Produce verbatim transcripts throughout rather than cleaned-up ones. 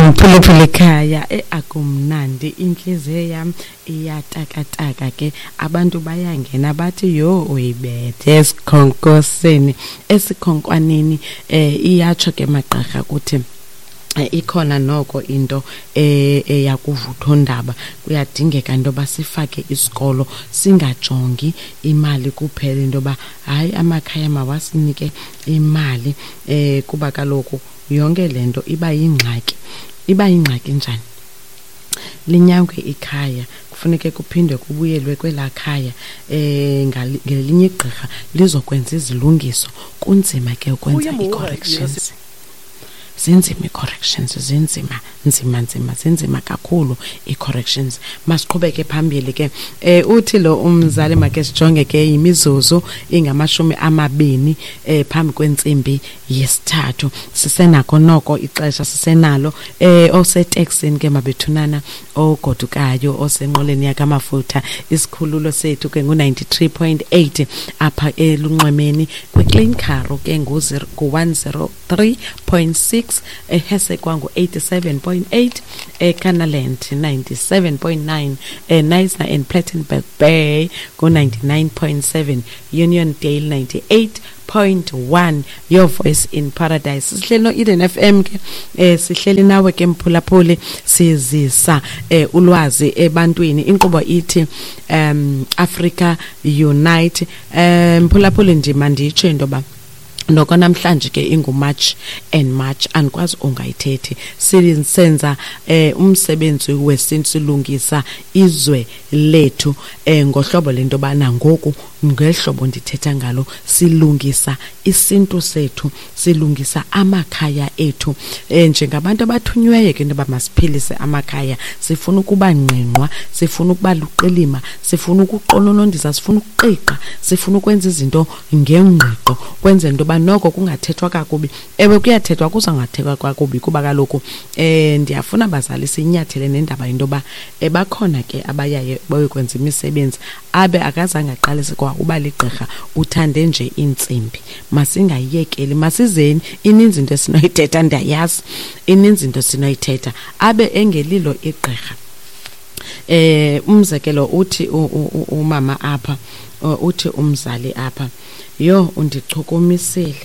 Mphulaphuli ekhaya, eh akumnandi, inhliziyo yam iyatakataka ke. Abantu bayangena bathi yho, uyibethe esikhonkoseni, esikhonkwaneni. eh iyatsho ke magqirha kuthi ikhona noko into eyakuvuthondaba. Kuyadingeka into yoba sifake isikolo, singajongi imali kuphela, into yoba hayi, amakhaya mawasinike imali, eh kuba kaloku yonke le nto iba yingxaki. Iba yingxaki njani? Linyangwe ikhaya, kufuneke kuphinde kubuyelwe kwelaa khaya eh ngelinye igqirha lizokwenza izilungiso. Kunzima ke ukwenza ii-corrections, zinzima ii-corrections, zinzima, nzima, nzima, zinzima kakhulu ii-corrections. Masiqhubeke phambili ke. eh uthi lo umzali, make sijonge ke, imizuzu ingamashumi amabini eh phambi kwentsimbi yesithathu, sisenako noko ixesha, sisenalo. eh oseteksini ke mabethunana, ogodukayo, osenqoleni yakamafutha, isikhululo sethu ke ngu ninety-three point eight apha elunxwemeni, kwiClean Karoo ke ngu one oh three point six, eHessequa ngu eighty-seven point eight, eKannaland ninety-seven point nine, eKnysna and Plettenberg Bay ngu ninety-nine point seven, Uniondale ninety-eight point one. Your Voice in Paradise, sihleli no-Eden F M ke. eh sihleli nawe ke mphulaphuli, sizisa eh ulwazi ebantwini. Inkqubo ithi um Africa Unite. um mphulaphuli, ndima nditsho into yoba noko namhlanje ke inguMarch and March, andikwazi ungayithethi. Senza eh umsebenzi wesintu, silungisa izwe lethu eh ngohlobo lento bana ngoku ngehlobo ndithetha ngalo, silungisa isintu sethu, silungisa amakhaya ethu eh njengabantu abathunyweyo ke into yoba masiphilise amakhaya. Sifuna ukuba ngqingqwa, sifuna ukuba luqilima, sifuna ukuqononondisa, sifuna ukuqiqa, sifuna ukwenza izinto ngengqiqo, kwenzela into yoba noko kungathethwa kakubi. Ewe, kuyathethwa, kuzangathethwa kakubi, kuba kaloku eh ndiyafuna bazali siyinyathele nendaba into yoba eh, bakhona ke abayaye bayokwenza imisebenzi abe akazange aqalise kwa uba ligqirha, uthande nje iintsimbi. Masingayiyekeli, masizeni. Ininzi into esinoyithetha, ndiyayazi ininzi into esinoyithetha, abe engelilo igqirha. eh umzekelo uthi umama apha, uthi umzali apha, "Yho, undichukumisile,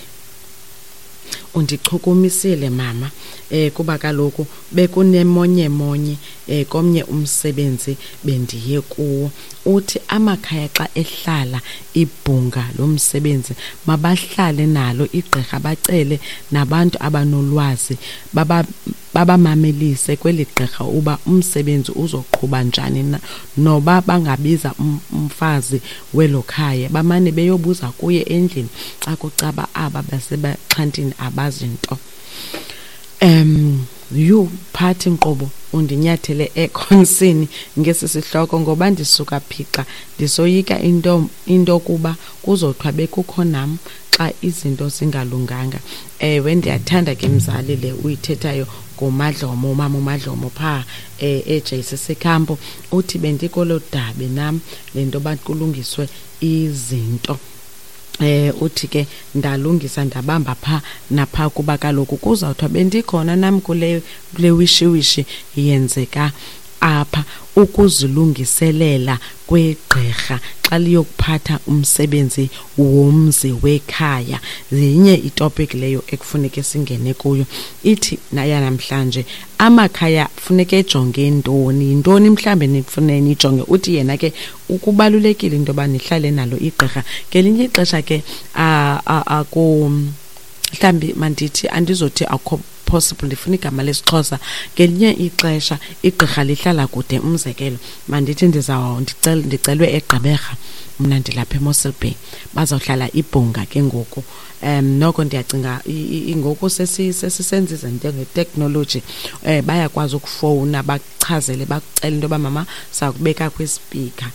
undichukumisile mama, eh kuba kaloku bekunemonye-monye eh komnye umsebenzi bendiye kuwo." Uthi amakhaya xa ehlala ibhunga lomsebenzi, mabahlale nalo igqirha, bacele nabantu abanolwazi, baba babamamelise kweli gqirha uba umsebenzi uzoqhuba njani na, noba bangabiza umfazi welo khaya, bamane beyobuza kuye endlini xa kucaba aba basebaxhantini abazinto. um yhu phathi nkqubo, undinyathele ekhonsini ngesi sihloko, ngoba ndisuka phixa ndisoyika into into kuba kuzothiwa bekukho nam xa izinto zingalunganga. Ewe, ndiyathanda ke mzali le uyithethayo ngoMadlomo, umama uMadlomo phaa um e-J C C Camp. Uthi bendikolo dabi nam le nto yoba kulungiswe izinto. eh uthi ke ndalungisa, ndabamba pha napha, kuba kaloku kuzawuthiwa bendikhona nam kule kule wishiwishi yenzeka apha. Ukuzilungiselela kwegqirha xa liyokuphatha umsebenzi womzi wekhaya yinye itopic leyo ekufuneke singene kuyo. Ithi naya namhlanje, amakhaya funeke ejonge ntoni? Yintoni mhlawumbe nifune nijonge? Uthi yena ke ukubalulekile into yoba nihlale nalo igqirha. Ngelinye ixesha ke aku mhlawumbi, mandithi, andizothi akukho possible, ndifuna igama lesiXhosa. Ngelinye ixesha igqirha lihlala kude. Umzekelo, mandithi ndiza ndicelwe eGqeberha, mna ndilapha eMossel Bay, bazawuhlala ibhunga ke ngoku. um noko ndiyacinga ngoku sesisenza izinto ngeteknoloji, um bayakwazi ukufowuna, bakuchazele, bakucele into yoba mama, sakubeka kwispeaker.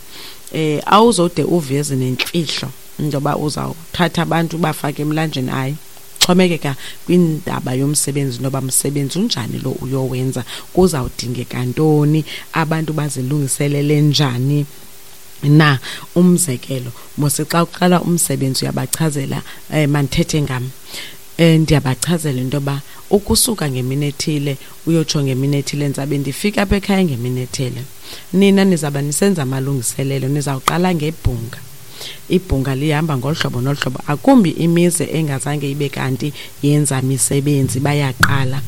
um awuzode uveze nemfihlo into yoba uzawuthatha abantu ubafake emlanjeni. Hayi, xhomekeka kwindaba yomsebenzi, noba msebenzi unjani lo uyowenza, kuzawudingeka ntoni, abantu bazilungiselele njani na. Umzekelo mose, xa uqala umsebenzi uyabachazela. um mandithethe ngam. um ndiyabachazela into yoba ukusuka ngemini ethile uyotsho ngemini ethile, ndizabe ndifika apha ekhaya ngemini ethile. Nina nizawuba nisenza amalungiselelo, nizawuqala ngebhunga. Ibhunga lihamba ngolu hlobo nolu hlobo, akumbi imizi engazange ibe kanti yenza misebenzi bayaqala.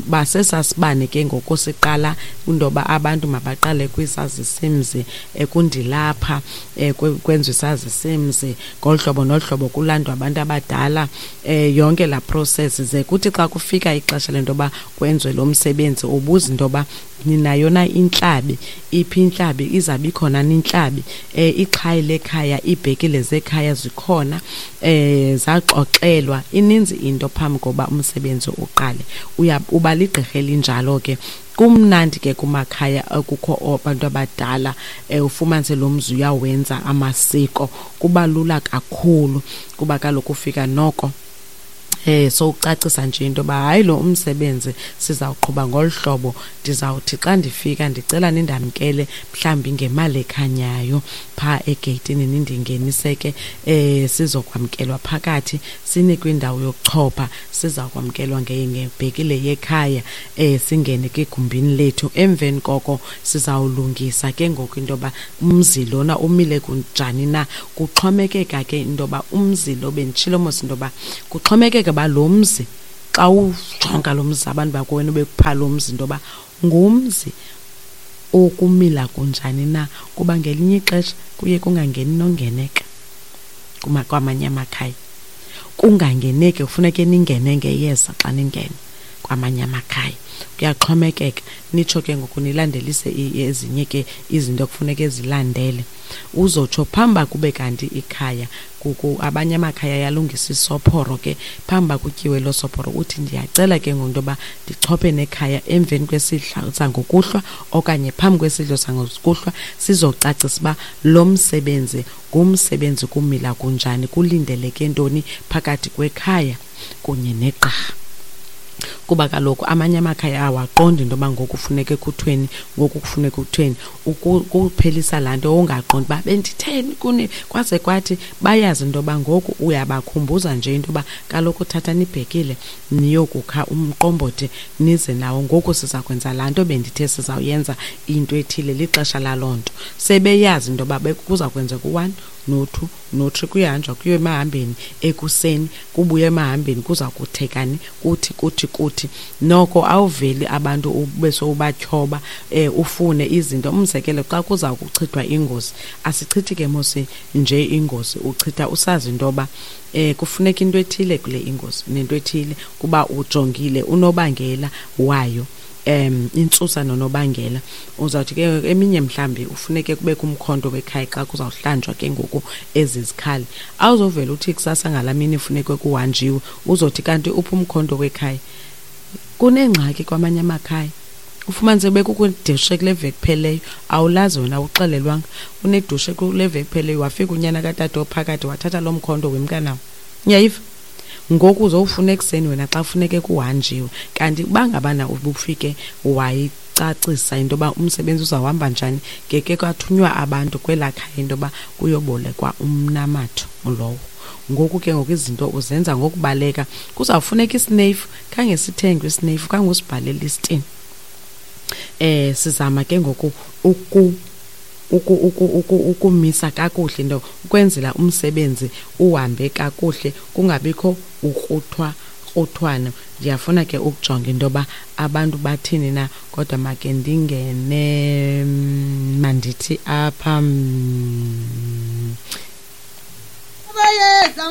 Basesasibane ke ngoku siqala into yoba abantu mabaqale kwisazisimzi, kundilapha kwenziwe isazisimzi ngolu hlobo nolu hlobo, kulandwa abantu abadala, yonke laa process. Ze kuthi xa kufika ixesha lento yoba kwenziwe lo msebenzi, ubuze into yoba ninayo na intlabi, iphi intlabi, izawube ikhona na intlabi, ixhayi lekhaya, iibhekile zekhaya zikhona, um zaxoxelwa. Ininzi into phambi koba umsebenzi uqale. Uba ligqirha elinjalo ke. Kumnandi ke kumakhaya ekukho abantu abadala, ufumanise lo mzi uyawenza amasiko, kuba lula kakhulu kuba kaloku ufika noko eh sowucacisa nje into yoba hayi lo umsebenzi sizawuqhuba ngolu hlobo, ndizawuthi xa ndifika ndicela nindamkele mhlawumbi ngemali ekhanyayo phaa egeyitini, nindingenise ke, eh sizokwamkelwa phakathi, sinikwe indawo yokuchopha, siza kwamkelwa ngebhekile yekhaya, eh singene ke egumbini lethu. Emveni koko sizawulungisa ke ngoku into yoba umzi lona umile kunjani na. Kuxhomekeka ke into yoba umzi lo, benditshilo mos into yoba kuxhomekeka uba lo mzi xa ujonga lo mzi abantu bakowenu bekupha lo mzi into yoba ngumzi okumila kunjani na, kuba ngelinye ixesha kuye kungangeni nongeneka kwamanye amakhaya. Kungangeneki, kufuneke ningene ngeyeza xa ningena kwamanye amakhaya. Kuyaxhomekeka, nitsho ke ngoku nilandelise ezinye ke izinto ekufuneke zilandele. Uzotsho phambi uba kube kanti ikhaya, abanye amakhaya ayalungisa isophoro ke, phambi uba kutyiwe loo sophoro uthi ndiyacela ke ngoku into yoba ndichophe nekhaya emveni kwesidlo sangokuhlwa okanye phambi kwesidlo sangokuhlwa, sizocacisa uba lo msebenzi ngumsebenzi kumila kunjani, kulindeleke ntoni phakathi kwekhaya kunye negqirha. Kuba kaloku amanye amakhaya awaqondi into yoba ngoku kufuneke kuthweni, ngoku kufuneka kuthweni. Ukuphelisa laa nto ungaqondi uba benditheni kuni, kwaze kwathi bayazi into yoba ngoku uyabakhumbuza nje into yoba kaloku thathani ibhekile niyokukha umqombothi nize nawo, ngoku siza kwenza laa nto bendithe sizawuyenza into ethile, lixesha laloo nto. Sebeyazi into yoba kuza kwenzeka u-one no-two no-three, kuyahanjwa kuyiwe emahambeni ekuseni, kubuywe emahambeni kuza kuthekani, kuthi kuthi kuthi. Noko awuveli abantu ube sowubatyhoba, um ufune izinto. Umzekelo, xa kuza kuchithwa ingozi, asichithi ke mos nje ingozi, uchitha usazi into yoba um kufuneka into ethile kule ingozi nento ethile, kuba ujongile unobangela wayo, um intsusa nonobangela. Uzawuthi ke eminye mhlawumbi ufuneke kubekho umkhonto wekhaya xa kuzawuhlanjwa ke ngoku ezi zikhali. Awuzovela uthi kusasa ngalaa mini funeke kuhanjiwe, uzothi kanti uphi umkhonto wekhaya. Kunengxaki kwamanye amakhaya, ufumanise bekukho idushe kule veki ipheleyo, awulazi wena, awuxelelwanga. Unedushe kule veki ipheleyo, wafika unyana katata ophakathi wathatha loo mkhonto wemka nawo. Uyayiva? Ngoku uzowufuna ekuseni wena xa kufuneke kuhanjiwe. Kanti uba ngabana ubufike wayicacisa into yoba umsebenzi uzawuhamba njani, ngeke kwathunywa abantu kwelaa khaya into yoba kuyobolekwa umnamatho lowo. Ngoku ke ngoku izinto uzenza ngokubaleka. Kuzawufuneka isineyifu, khange sithengwe isineyifu, khange usibhale elistini. Eh sizama ke ngoku uku uku uku uku ukumisa kakuhle into ukwenzela umsebenzi uhambe kakuhle, kungabikho ukruthwa kruthwana. Ndiyafuna ke ukujonga into yoba abantu bathini na, kodwa make ndingene, mandithi apha.